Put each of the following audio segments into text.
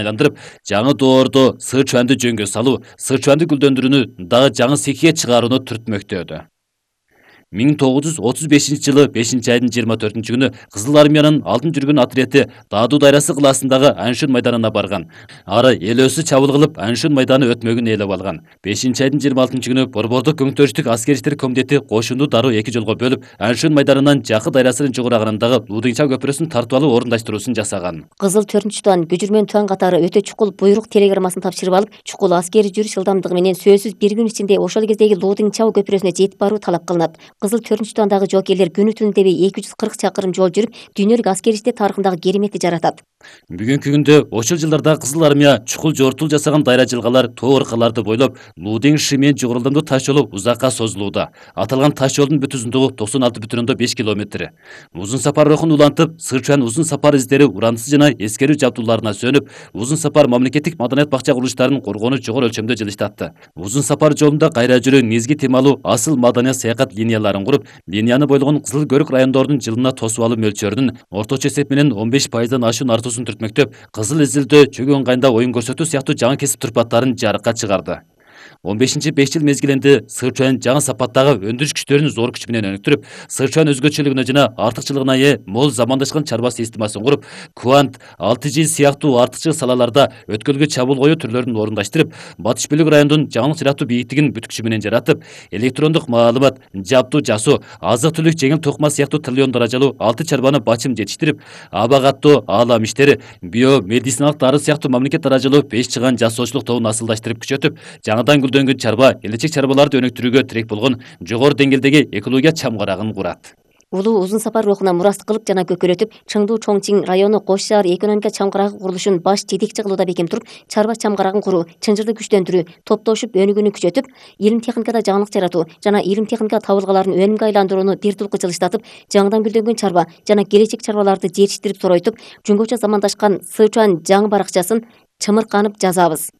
айландырып, жаңы доордо Сычуанды жөнгө салуу, Сычуанды гүлдөндүрүүнү дагы жаңы сикке чыгарууну түртмөктөдү. 1935-жылы 5-айдын 24-күнү Кызыл армиянын алтын жүргөн отряды Дааду дайрасы кылаасындагы Аншын майданына барган. Ары эл өсү чабыл кылып Аншын майданы өтмөгүн ээлеп алган. 5-айдын 26-күнү Борбордук көңтөрүштүк аскер иштер комитети кошунду дароо эки жолго бөлүп, Аншын майданынан Жакы дайрасынын жогорагынындагы Лудыңча көпүрөсүн тартып алуу орундаштыруусун жасаган. Кызыл 4-тан күжүрмөн туан катары өтө чукул буйрук телеграммасын тапшырып алып, чукул аскери жүрүш ылдамдыгы менен сөзсүз бир күн ичинде ошол кездеги Лудыңча көпүрөсүнө жетип баруу талап кылынат. Кызыл 4-туандагы жоокерлер күнү түнү дебей 240 чакырым жол жүрүп, дүйнөлүк аскери иштер тарыхындагы кереметти жаратат. Бүгүнкү күндө ошол жылдарда Кызыл армия чукул жортул жасаган дайра жылгалар, тоо ыркаларды бойлоп, Лудың шимен жогорулдамдуу таш жолу узакка созулууда. Аталган таш жолдун бүт узундугу 96,5 километр. Узун сапар рухун улантып, Сычуан узун сапар издери урандысы жана эскерүү жабдууларына сөнүп, узун сапар мамлекеттик маданият бакча курулуштарын коргоону жогору өлчөмдө жылыштатты. Узун сапар жолунда кайра жүрүү, негизги темалуу асыл маданият саякат линияларын куруп, линияны бойлогон Кызыл көрүк райондордун жылына тосуп алуу мөлчөрүнүн орточо эсеп менен 15%дан ашуун артуусун түртмөктөп, кызыл изилдөө, чөгөн кайында оюн көрсөтүү сыяктуу жаңы кесип турпаттарын жарыкка чыгарды. 15-5 жыл мезгилинде Сычуан жаңы сапаттагы өндүрүш күчтөрүн зор күч менен өнүктүрүп, Сычуан өзгөчөлүгүнө жана артыкчылыгына ээ мол замандашкан чарба системасын куруп, Куант, 6G сыяктуу артыкчыл салаларда өткөлгө чабуул коюу түрлөрүн орундаштырып, батыш бөлүк райондун жаңылык жаратуу бийиктигин бүт күчү менен жаратып, электрондук маалымат, жабдуу жасоо, азык-түлүк, жеңил токума сыяктуу триллион даражалуу 6 чарбаны бачым жетиштирип, аба каттоо, аалам иштери, биомедициналык дары сыяктуу мамлекет даражалуу 5 чыган жасоочулук тобун асылдаштырып күчөтүп, жаңыдан гүлдөнгөн чарба, келечек чарбаларды өнүктүрүүгө тирек болгон жогору деңгээлдеги экология чамгарагын курат. Улуу узун сапар рухуна мурас кылып жана көкөлөтүп, Чыңдуу Чоңчиң району Кош шаар экономика чамгарагы курулушун баш жетекчи кылууда бекем туруп, чарба чамгарагын куруу, чынжырды күчтөндүрүү, топтошуп өнүгүүнү күчөтүп, илим техникада жаңылык жаратуу жана илим техника табылгаларын өнүмгө айландырууну бир тулку жылыштатып, жаңыдан гүлдөнгөн чарба жана келечек чарбаларды жетиштирип соройтуп, жөнгөчө замандашкан Сычуан жаңы баракчасын чымырканып жазабыз.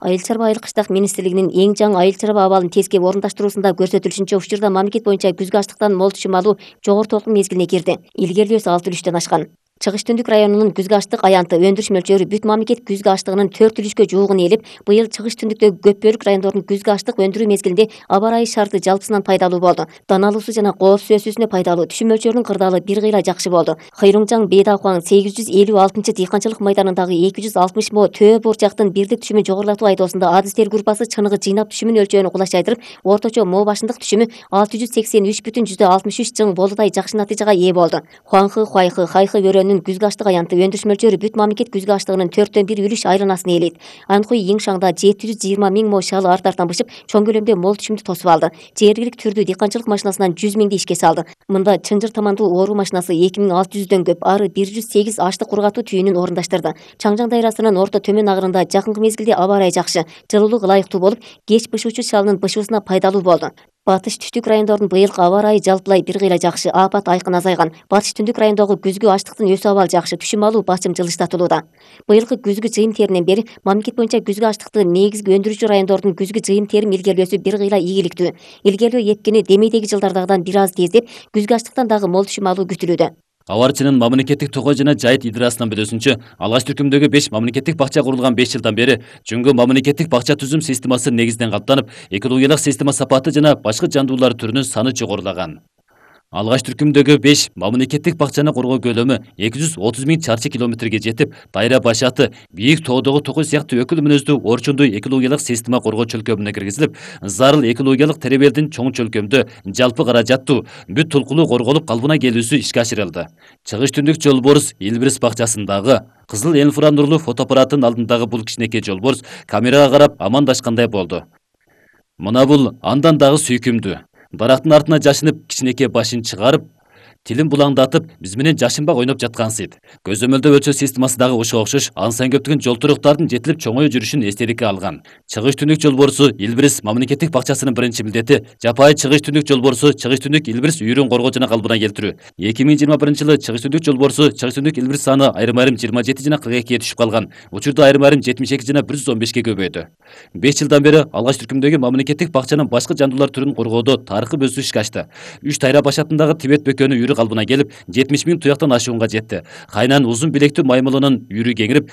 Айыл чарба айыл кыштак министрлигинин эң жаңы айыл чарба абалын тескеп орундаштыруусунда көрсөтүлүшүнчө учурда мамлекет боюнча күзгү аштыктан мол түшүм алуу жогору толкун мезгилине кирди. Илгерилөөсү 6,3-төн ашкан. Чыгыш түндүк районунун күзгү аштык аянты өндүрүш мөлчөрү бүт мамлекет күзгү аштыгынын 4,3-кө жуугун ээлеп, быйыл чыгыш түндүктөгү көп бөлүк райондордун күзгү аштык өндүрүү мезгилинде аба ырайы шарты жалпысынан пайдалуу болду. Даналуусу жана кооз сөзсүзүнө пайдалуу, түшүм мөлчөрүнүн кырдаалы бир кыйла жакшы болду. Кыйрыңжаң Бейдакуаң 856 дыйканчылык майданындагы 260 мо төө бурчактын бирдик түшүмүн жогорулатуу айдоосунда адыстер группасы чыныгы жыйнап түшүмүн өлчөөнү кулачайдырып, орточо мо башындык түшүмү 683,63 жың болудай жакшы натыйжага ээ болду. Хуаңхы, Хуайхы, Хайхы өрөөнүнүн күзгү аштык аянты өндүрүш мөлчөрү бүт мамлекет күзгү аштыгынын 4/1 үлүш айланасын ээлейт. Анхуй Йиңшаңда 720 миң мо шалы арт-арттан бышып, чоң көлөмдө мол түшүмдү тосуп алды. Жергилик түрдүү дыйканчылык машинасынан 100 миңди ишке салды. Мында чынжыр тамандуу ооруу машинасы 2600дөн көп, ары 108 аштык кургатуу түйүнүн орундаштырды. Чаңжаң дайрасынын орто төмөн агырында жакынкы мезгилде аба ырайы жакшы, жылуулук ылайыктуу болуп, кеч бышуучу шалынын бышуусуна пайдалуу болду. Батыш түштүк райондордун быйылкы аба ырайы жалпылай бир кыйла жакшы, апат айкын азайган. Батыш түндүк райондогу күзгү аштыктын өсүү абалы жакшы, түшүм алуу бачым жылыштатылууда. Быйылкы күзгү жыйым теринен бери мамлекет боюнча күзгү аштыкты негизги өндүрүүчү райондордун күзгү жыйым терим илгерилөөсү бир кыйла ийгиликтүү. Илгерилөө эпкени демейдеги жылдардагыдан бир аз тездеп, күзгү аштыктан дагы мол түшүм алуу күтүлүүдө. Аварчынын мамлекеттик токой жана жайыт идрасынан билүүсүнчө, алгач түркүмдөгү 5 мамлекеттик бакча курулган 5 жылдан бери жөнгө мамлекеттик бакча түзүм системасы негизинен калыптанып, экологиялык система сапаты жана башка жандуулар түрүнүн саны жогорулаган. Алгач түркүмдөгү 5 мамлекеттик бакчаны коргоо көлөмү 230 миң чарчы километрге жетип, дайра башаты, бийик тоодогу токой сыяктуу өкүл мүнөздүү орчундуу экологиялык система коргоо чөлкөмүнө киргизилип, зарыл экологиялык теребелдин чоң чөлкөмдө жалпы каражаттуу бүт толкулуу корголуп калыбына келүүсү ишке ашырылды. Чыгыш түндүк жолборс Илбирис бакчасындагы кызыл инфранурлуу фотоаппараттын алдындагы бул кичинекей жолборс камерага карап амандашкандай болду. Мына бул андан дагы сүйкүмдүү. Дарактын артына жашынып, кичинекей башын чыгарып, тилин булаңдатып, биз менен жашынбак ойноп жаткансыйт. Көзөмөлдөө өлчөө системасы дагы ошого окшош ансайн көптөгөн жол туруктардын жетилип чоңою жүрүшүн эстеликке алган. Чыгыш түндүк жолборсу Илбирис мамлекеттик бакчасынын биринчи милдети жапайы чыгыш түндүк жолборсу Чыгыш түндүк Илбирис үйрүн коргоо жана калыбына келтирүү. 2021-жылы чыгыш түндүк жолборсу Чыгыш түндүк Илбирис саны айрым-айрым 27 жана 42-ге түшүп калган. Учурда айрым-айрым 72 жана 115-ге көбөйдү. 5 жылдан бери алгач түркүмдөгү мамлекеттик бакчанын башка жандуулар түрүн коргоодо тарыхый бөлсүү ишке ашты. 3 дайра башатындагы Тибет бөкөнү үйрү калыбына келип 70 000 туяктан ашуунга жетти. Кайнан узун билектүү маймылынын үйрү кеңирип,